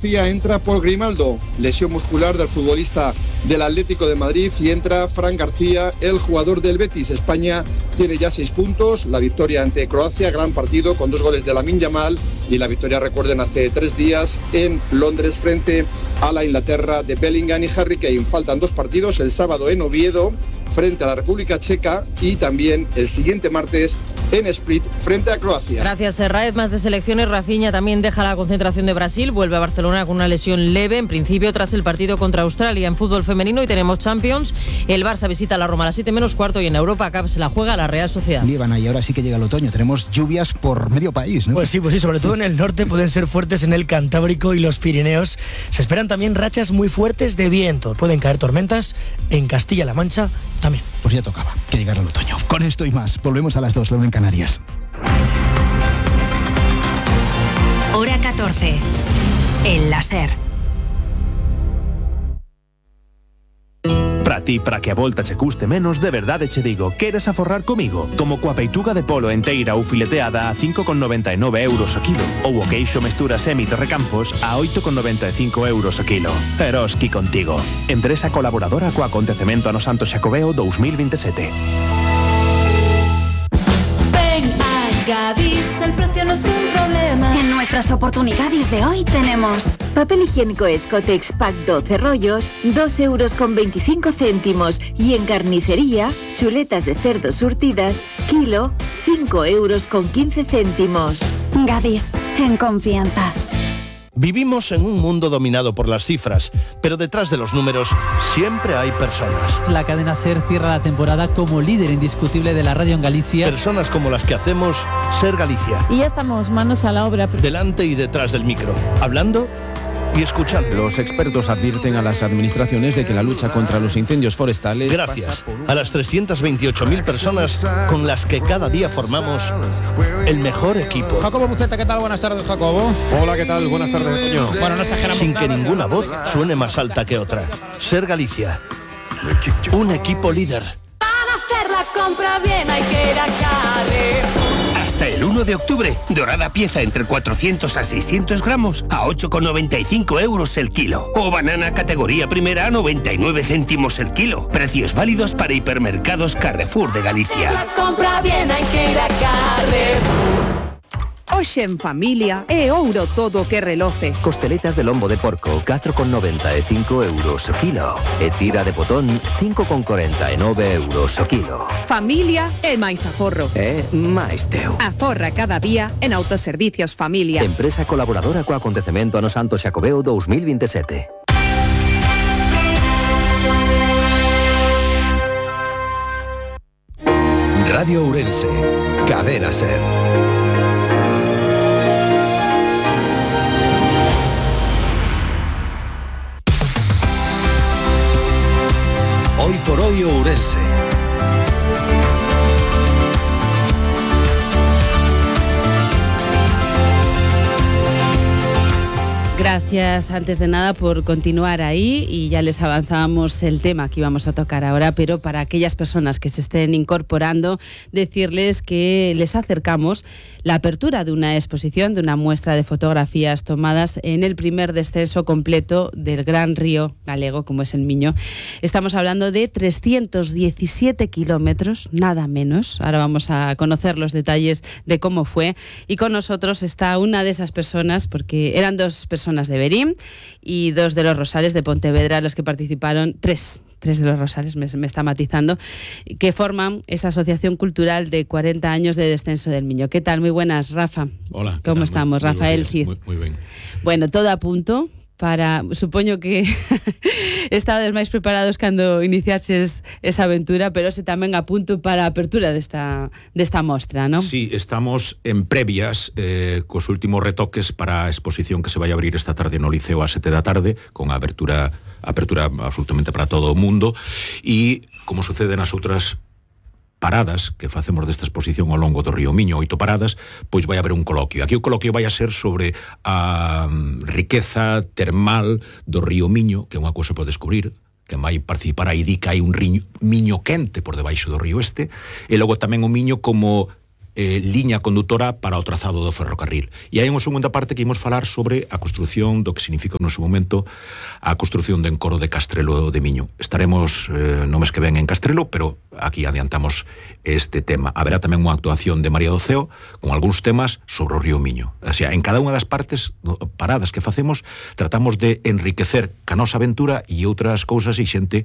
Entra Paul Grimaldo, lesión muscular del futbolista del Atlético de Madrid, y entra Fran García, el jugador del Betis. España tiene ya 6 puntos, la victoria ante Croacia, gran partido con 2 goles de Lamine Yamal, y la victoria, recuerden, hace 3 días en Londres frente a la Inglaterra de Bellingham y Harry Kane. Faltan 2 partidos, el sábado en Oviedo frente a la República Checa y también el siguiente martes en Split frente a Croacia. Gracias, Serraez. Más de selecciones. Rafinha también deja la concentración de Brasil, vuelve a Barcelona con una lesión leve, en principio tras el partido contra Australia. En fútbol femenino y tenemos Champions, el Barça visita a la Roma a las 7 menos cuarto y en Europa Cup se la juega la Real Sociedad. Líbana, y ahora sí que llega el otoño, tenemos lluvias por medio país, ¿no? Pues sí, sobre todo en el norte pueden ser fuertes en el Cantábrico y los Pirineos. Se esperan también rachas muy fuertes de viento, pueden caer tormentas en Castilla-La Mancha también. Pues ya tocaba que llegara el otoño. Con esto y más, volvemos a las 2, la 1 en Canarias. Hora 14. El láser. Para ti, para que a volta che custe menos, de verdade che digo, queres aforrar comigo? Como coa peituga de polo enteira ou fileteada a 5,99 euros o kilo, ou o queixo mestura semi de Recampos a 8,95 euros o kilo. Eroski contigo. Empresa colaboradora co acontecemento Ano Santo Xacobeo 2027. Gadis, el precio no es un problema. En nuestras oportunidades de hoy tenemos papel higiénico Escotex Pack 12 rollos, 2,25 euros. Y en carnicería, chuletas de cerdo surtidas, kilo, 5,15 euros. Gadis, en confianza. Vivimos en un mundo dominado por las cifras, pero detrás de los números siempre hay personas. La cadena SER cierra la temporada como líder indiscutible de la radio en Galicia. Personas como las que hacemos SER Galicia. Y ya estamos manos a la obra. Delante y detrás del micro, hablando y escuchando. Los expertos advierten a las administraciones de que la lucha contra los incendios forestales... Gracias a las 328.000 personas con las que cada día formamos el mejor equipo. Jacobo Buceta, ¿qué tal? Buenas tardes, Jacobo. Hola, ¿qué tal? Buenas tardes, Toño. Bueno, no exageramos. Sin que ninguna voz suene más alta que otra. SER Galicia. Un equipo líder. Para hacer la compra bien hay que ir a Carrefour. Hasta el 1 de octubre, dorada pieza entre 400 a 600 gramos a 8,95 euros el kilo. O banana categoría primera a 99 céntimos el kilo. Precios válidos para hipermercados Carrefour de Galicia. La compra bien hai que ir a Carrefour. Hoxe en familia é ouro todo que reloce. Costeletas de lombo de porco, 4,95 euros o kilo. E tira de potón, 5,49 euros o kilo. Familia é máis aforro. É máis teu. Aforra cada día en Autoservicios Familia. Empresa colaboradora co acontecemento Ano Santo Xacobeo 2027. Radio Ourense, Cadena SER. Hoy por hoy Ourense. Gracias, antes de nada, por continuar ahí, y ya les avanzábamos el tema que íbamos a tocar ahora, pero para aquellas personas que se estén incorporando, decirles que les acercamos la apertura de una exposición, de una muestra de fotografías tomadas en el primer descenso completo del gran río galego, como es el Miño. Estamos hablando de 317 kilómetros, nada menos. Ahora vamos a conocer los detalles de cómo fue, y con nosotros está una de esas personas, porque eran 2 personas de Verín y 2 de los Rosales de Pontevedra los que participaron, 3 de los Rosales, me está matizando, que forman esa asociación cultural de 40 años de descenso del Miño. ¿Qué tal? Muy buenas, Rafa. Hola. ¿Cómo estamos? Muy Rafael Cid. Muy bien. Bueno, todo a punto para, supoño que estades máis preparados cando iniciaches esa aventura, pero se tamén a punto para a apertura desta mostra, non? Sí, estamos en previas cos últimos retoques para a exposición que se vai abrir esta tarde no Liceo a 7 da tarde, con a apertura absolutamente para todo o mundo, e como sucede nas outras paradas que facemos desta exposición ao longo do río Miño, 8 paradas, pois vai haber un coloquio. Aquí o coloquio vai a ser sobre a riqueza termal do río Miño, que é unha cousa por descubrir, que vai participar aí, di que hai un Miño quente por debaixo do río este, e logo tamén o Miño como liña condutora para o trazado do ferrocarril. E hai unha segunda parte que imos falar sobre a construción do que significa no seu momento a construción do encoro de Castrelo de Miño. Estaremos no mes que ven en Castrelo, pero aquí adiantamos este tema. Haberá tamén unha actuación de María do Ceo con algúns temas sobre o río Miño. O sea, en cada unha das paradas que facemos tratamos de enriquecer ca nosa aventura e outras cousas e xente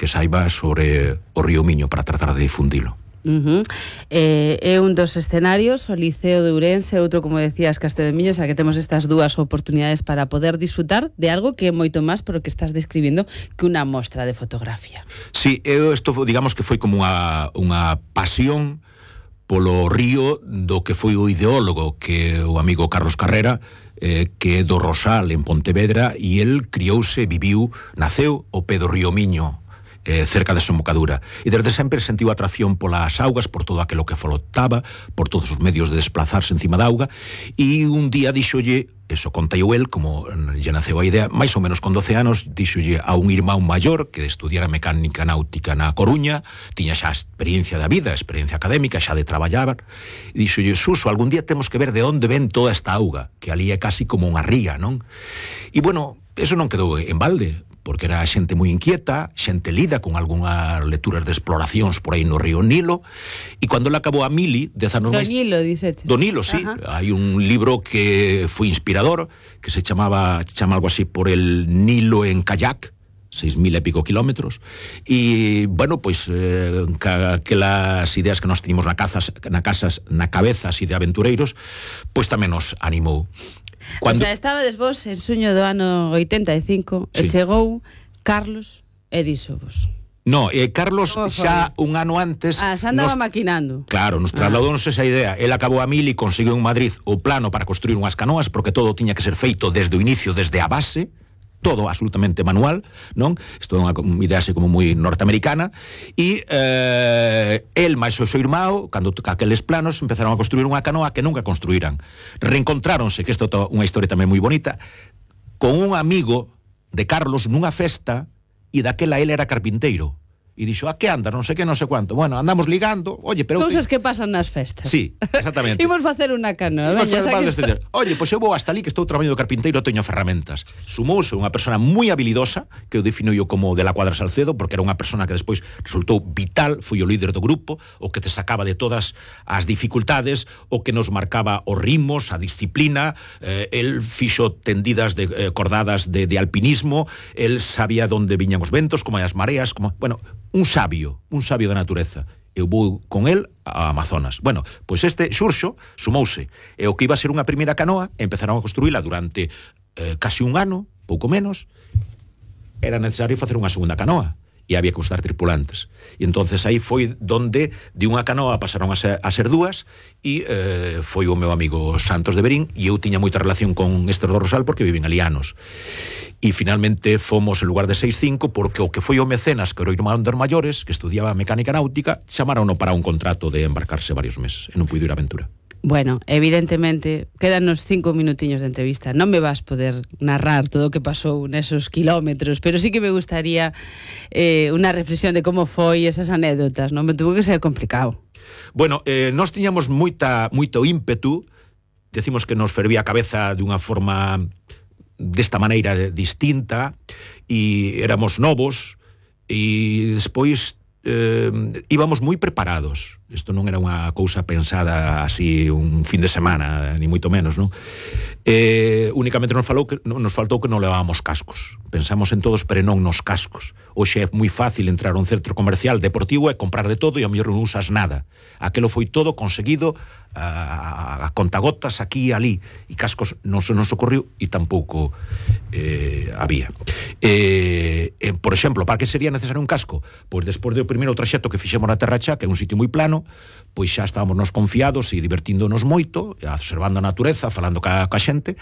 que saiba sobre o río Miño para tratar de difundilo. É un dos escenarios, o Liceo de Ourense, outro, como decías, Castrelo de Miño, o sea que temos estas dúas oportunidades para poder disfrutar de algo que é moito máis por o que estás describindo que unha mostra de fotografía. Sí, isto digamos que foi como unha pasión polo río do que foi o ideólogo, que o amigo Carlos Carrera, que é do Rosal en Pontevedra, e el criouse, viviu, naceu o pé do río Miño, cerca de Desembocadura, e desde sempre sentiu atracción polas augas, por todo aquilo que flotaba, por todos os medios de desplazarse encima da auga, e un día díxolle, eso contei el, como lle naceu a idea, máis ou menos con 12 anos, díxolle a un irmán maior que estudiara mecánica náutica na Coruña, tiña xa experiencia da vida, experiencia académica, xa de traballar, e díxolle, Suso, algún día temos que ver de onde ven toda esta auga, que ali é casi como unha ría, non? E bueno, eso non quedou en balde, porque era xente moi inquieta, xente lida con algunhas lecturas de exploracións por aí no río Nilo, e cando ele acabou a mili, 10 anos máis... Do Nilo, diceches. Do Nilo, sí. Hai un libro que foi inspirador, que se chama algo así, Por el Nilo en kayak, 6.000 e pico kilómetros, e, bueno, pois, aquelas ideas que nós teníamos na cabeza así de aventureiros, pois tamén nos animou. Cuando... O sea, estabades vos en suño do ano 85 sí. E chegou Carlos e díxovos. No, Carlos xa un ano antes... xa andaba maquinando. Claro, nos trasladounos esa idea. El acabou a mili e conseguiu en Madrid o plano para construir unhas canoas, porque todo tiña que ser feito desde o inicio, desde a base, todo absolutamente manual, non? Isto é unha idea así como moi norteamericana, e el máis o seu irmão, cando aqueles planos, empezaron a construir unha canoa que nunca construíran. Reencontráronse, que isto é unha historia tamén moi bonita, con un amigo de Carlos nunha festa, e daquela el era carpinteiro. E dixo, a que anda, non sei que, non sei cuánto. Bueno, andamos ligando, oye, pero... Cousas que pasan nas festas. Sí, exactamente. Imos facer unha canoa. Oye, pois eu vou hasta ali, que estou traballando de carpinteiro, teño ferramentas. Sumouse unha persona moi habilidosa, que eu defino yo como de la Cuadra Salcedo, porque era unha persona que despois resultou vital, foi o líder do grupo, o que te sacaba de todas as dificultades, o que nos marcaba os ritmos, a disciplina, el fixo tendidas cordadas de alpinismo, el sabía onde viñan os ventos, como as mareas, como... Bueno, un sabio da natureza. Eu vou con el a Amazonas. Bueno, pois este Xurxo sumouse, e o que iba a ser unha primeira canoa, empezaron a construíla durante casi un ano, pouco menos, era necesario facer unha segunda canoa, e había que buscar tripulantes. E entonces aí foi donde de unha canoa pasaron a ser dúas, e foi o meu amigo Santos de Berín, e eu tiña moita relación con Esther do Rosal porque viven ali anos. E finalmente fomos en lugar de 6-5 porque o que foi o mecenas, que era o irmán dos maiores, que estudiaba mecánica náutica, chamaron para un contrato de embarcarse varios meses e non puido ir a aventura. Bueno, evidentemente, quedanos 5 minutiños de entrevista. Non me vas poder narrar todo o que pasou nesos kilómetros, pero sí que me gustaría unha reflexión de como foi esas anécdotas, non? Me tuvo que ser complicado. Bueno, nós tiñamos moito ímpetu, decimos que nos fervía a cabeza de unha forma desta maneira distinta, e éramos novos, e despois íbamos moi preparados. Isto non era unha cousa pensada así un fin de semana, ni moito menos, non? Únicamente nos faltou que non levábamos cascos. Pensamos en todos, pero non nos cascos. Hoxe é moi fácil entrar a un centro comercial deportivo e comprar de todo e ao mellor non usas nada. Aquelo foi todo conseguido a contagotas aquí e ali, e cascos non se nos ocorriu e tampouco había. Por exemplo, para que sería necesario un casco? Pois despois do primeiro traxecto que fixemos na Terra Chá, que é un sitio moi plano, pois xa estábamos nos confiados e divertíndonos moito, observando a natureza, falando ca xente,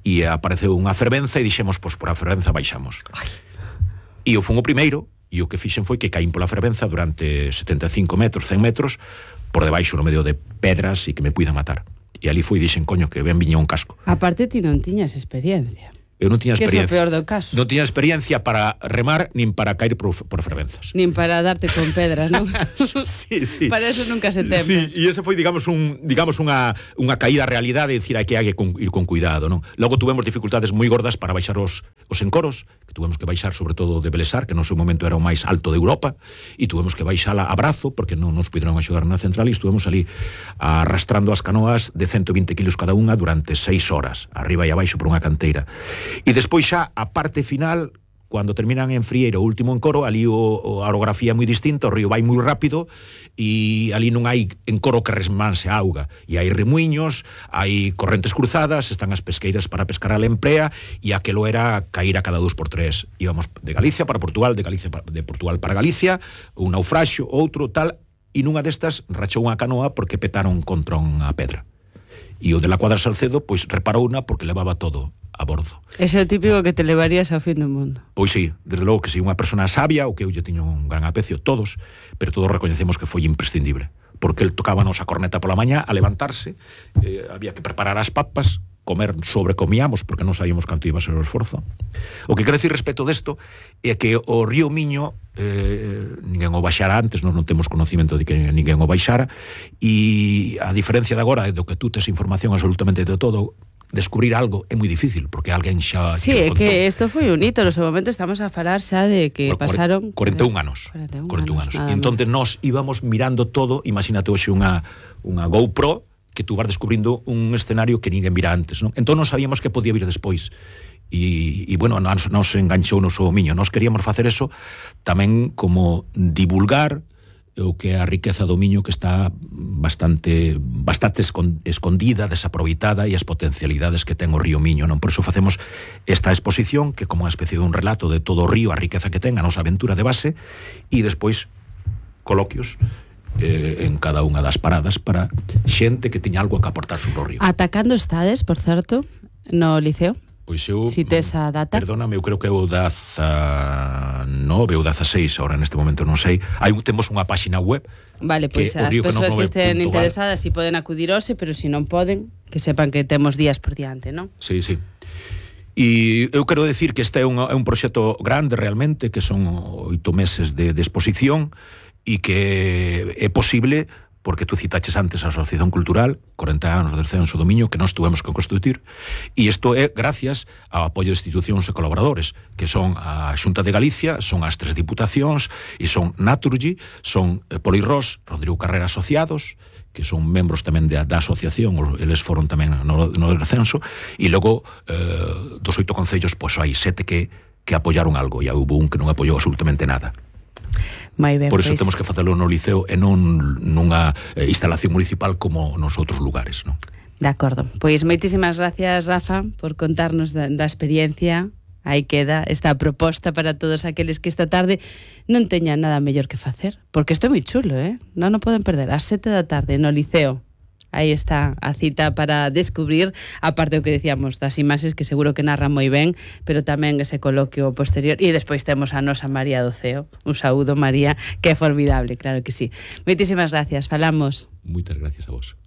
e apareceu unha fervenza e dixemos, pois por a fervenza baixamos. E eu fui o primeiro, e o que fixen foi que caín pola fervenza durante 75 metros, 100 metros, por debaixo no medio de pedras e que me puidan matar. E ali foi e dixen, coño, que ben viña un casco. Aparte ti non tiñas experiencia. Eu non tiña Que é o experiencia. peor do caso. Non tiña experiencia para remar nin para caer por fervenzas. Nin para darte con pedras, non? Sí. Para eso nunca se teme. Sí, e ese foi, digamos, unha caída á realidade, decir, hai que ir con cuidado, non? Logo tuvemos dificultades moi gordas para baixar os encoros, que tuvemos que baixar sobre todo de Belesar, que no seu momento era o máis alto de Europa, e tuvemos que baixar a brazo, porque non nos puderon axudar na central, e estuvemos ali arrastrando as canoas de 120 kilos cada unha durante 6 horas, arriba e abaixo por unha canteira. E despois xa a parte final, cando terminan en Frieiro o último encoro, ali a orografía é moi distinta, o río vai moi rápido e ali non hai encoro que resmanse a auga, e hai remuiños, hai correntes cruzadas, están as pesqueiras para pescar a lemprea, e aquelo era cair a cada 2x3. Íbamos de Galicia para Portugal, de Portugal para Galicia, un naufraxio, outro, tal, e nunha destas rachou unha canoa porque petaron contra unha pedra. E o de la Cuadra Salcedo, pois reparouna porque levaba todo a bordo. Ese é o típico que te levarías ao fin do mundo. Pois sí, desde logo que si unha persona sabia, o que eu lle tiño un gran aprecio, todos, pero todos recoñecemos que foi imprescindible, porque el tocábanos a corneta pola mañá a levantarse, había que preparar as papas, comer sobrecomíamos porque non sabíamos canto iba a ser o esforzo. O que quero dicir respecto desto é que o río Miño ninguén o baixara antes, non temos conocimento de que ninguén o baixara, e a diferencia de agora do que tú tes información absolutamente de todo, descubrir algo é moi difícil, porque alguén xa... Sí, é que isto foi un hito, no seu momento estamos a falar xa de que pasaron... 41 anos. 41 anos. E entón nos íbamos mirando todo, imagínate hoxe unha GoPro, que tú vas descubrindo un escenario que ninguén vira antes, non? Entón non sabíamos que podía vir despois. E bueno, nos enganchou no seu Miño. Nos queríamos facer eso tamén como divulgar o que é a riqueza do Miño, que está bastante escondida, desaproveitada, e as potencialidades que ten o río Miño, non? Por iso facemos esta exposición, que como unha especie de un relato de todo o río, a riqueza que ten, a nosa aventura de base, e despois coloquios en cada unha das paradas para xente que teña algo que aportar sobre o río. Atacando estades, por certo, no Liceo? Pois eu... Si tes a data? Perdóname, eu creo que é o 19 ou 16, ahora neste momento non sei. Temos unha páxina web. Vale, pois as persoas que estén interesadas si poden acudir hoxe, pero si non poden, que sepan que temos días por diante, non? Sí. E eu quero decir que este é un proxecto grande realmente, que son 8 meses de exposición, e que é posible porque tú citaches antes a Asociación Cultural, 40 anos de descenso do Miño, que nós tuvemos que constituir, e isto é gracias ao apoio de institucións e colaboradores, que son a Xunta de Galicia, son as 3 diputacións, e son Naturgy, son Polirrós, Rodrigo Carrera Asociados, que son membros tamén da asociación, eles foron tamén no descenso, e logo dos 8 concellos, pois hai 7 que apoyaron algo, e houve un que non apoiou absolutamente nada. Moi ben, por iso temos que facelo no Liceo e non nunha instalación municipal como nos outros lugares, non? De acordo. Pois moitísimas gracias, Rafa, por contarnos da experiencia. Aí queda esta proposta para todos aqueles que esta tarde non teñan nada mellor que facer, porque isto é moi chulo, non o poden perder, ás 7 da tarde no Liceo. Aí está a cita para descubrir, aparte do que decíamos das imaxes, que seguro que narran moi ben, pero tamén ese coloquio posterior. E despois temos a nosa María do Ceo. Un saúdo, María, que é formidable, claro que sí. Moitísimas gracias, falamos. Moitas gracias a vos.